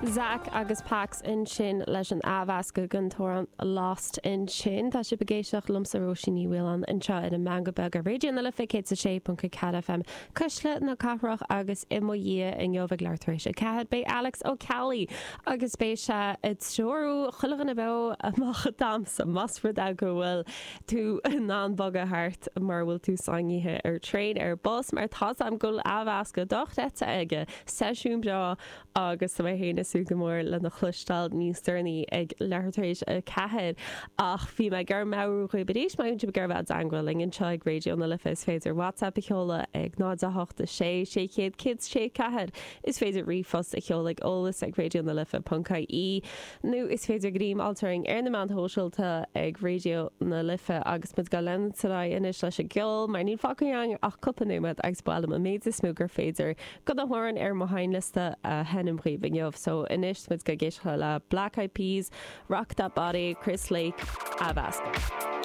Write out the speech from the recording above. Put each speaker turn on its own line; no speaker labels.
Zach agus Pax ansin leis an athmheascadh den t-amhrán Lost ansin. Tá sibh ag éisteacht liomsa Róisín Ní Mhaoláin anseo ar an Meangadh Beag ar Raidió na Life 106.4 FM, Cuisle na Cathrach agus i mo dhiaidh inniu ag leathuair tar éis 4 beidh Alex Ó Ceallaigh agus beidh sé ag treorú chuile dhuine beo amach ag damhsa más rud é go bhfuil tú in ann bogadh thart mura bhfuil tú sáinnithe ar traein ar bus mar tá's a'm go bhfuil athmheascadh dochreidte aige, seisiún breá agus tá mé féin ag súil go mór lena chloisteáil níos deireanaí ag leathuair tar éis 4. Ach bhí mé ag iarraidh meabhrú dhaoibh arís má bhíonn sibh ag iarraidh bheith i dteangmháil linn anseo ag Raidió na Life is féidir WhatsApp a sheoladh ag 0 8 6 600 106 4, is féidir ríomhphost a sheoladh ag eolas ag raidionalife.ie nó is féidir greim a fháilt orainn ar na meáin shóisialta ag Raidió na Life agus muid ag leanúint ar aghaidh anois leis an gceol mar níl fágtha againn ach cúpla nóiméad agus ba mhaith liom an méid is mó gur féidir de na hamhráin ar mo sheinnliosta a sheinm dhaoibh inniu. So anois tá muid ag éisteacht le Black Eyed Peas, Rock That Body, Chris Lake, athmheascadh.